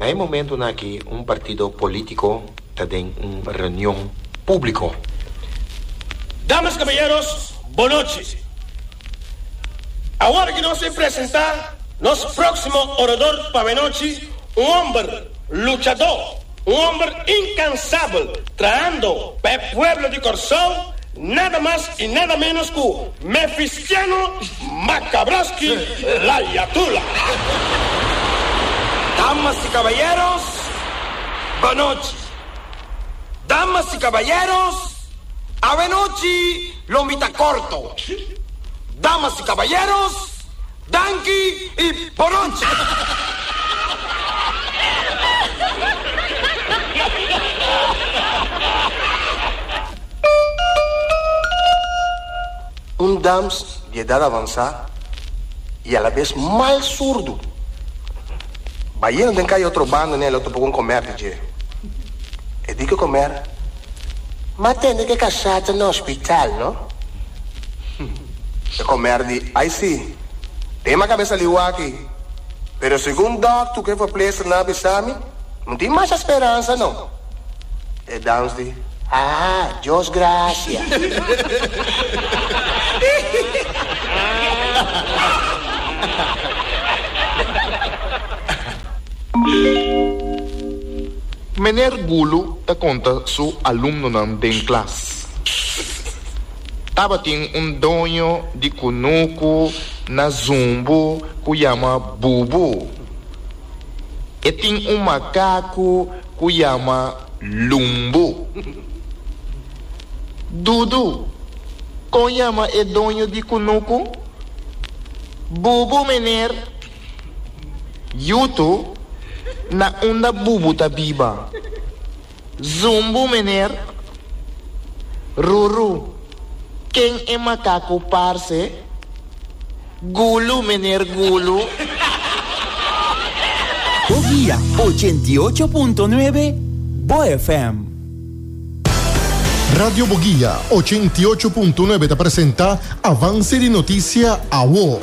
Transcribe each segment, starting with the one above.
Na e momentonan aki un partido politico ta den un reunion publico. Damas, caballeros, bonochi. Awor ki nos a presenta nos proximo orador pa awenochi, un homber luchador, un homber incansabel trahando pa e pueblo di Corsou, nada mas y nada menos cu Mefistiano Macabroski Layatula. Damas y caballeros, bonochi. Damas y caballeros, awenochi lo mi ta corto. Damas y caballeros, danki y bonochi. Un dams di edad avansá i alabes mal surdu. Bayendo den kaya otro banda n'e lo topa ku un komer di dje. E di ku e komer, M'a tende ku e kasá ta na hospital, no? E komer di, Ai si, den m'a kabesa liu aki, pero segun dòkter ku e verpleegsternan a bisa mi, no tin masha speransa no. E dams di, Ah, Dios gracia. Meneer Gulu ta konta su alumnonan den klas. Tabatin un doño di kunuku na Zumbu ku yama Bubu. E tin un makaku ku yama Lumbu. Dudu, kon yama e doño di kunuku? Bubu, meneer. Yutu, na unda Bubu ta biba? Zumbu, meneer. Ruru, ken e makaku parse? Gulu, meneer Gulu. Bo guia 88.9 Bo FM. Radio Boguia 88.9 ta presenta Avance di Noticia Awo.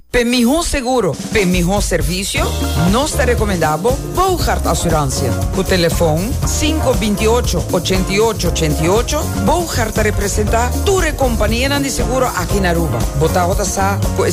P'e mihó seguro, p'e mihó servisio, nos ta rekomendá bo Boogaard Assurantie. Ku telefon sinku binti ocho, ochenta i ocho, ochenta i ocho, Boogaard ta representá tur e kompanianan di seguro aki na Aruba. Bo tabata sa ku e.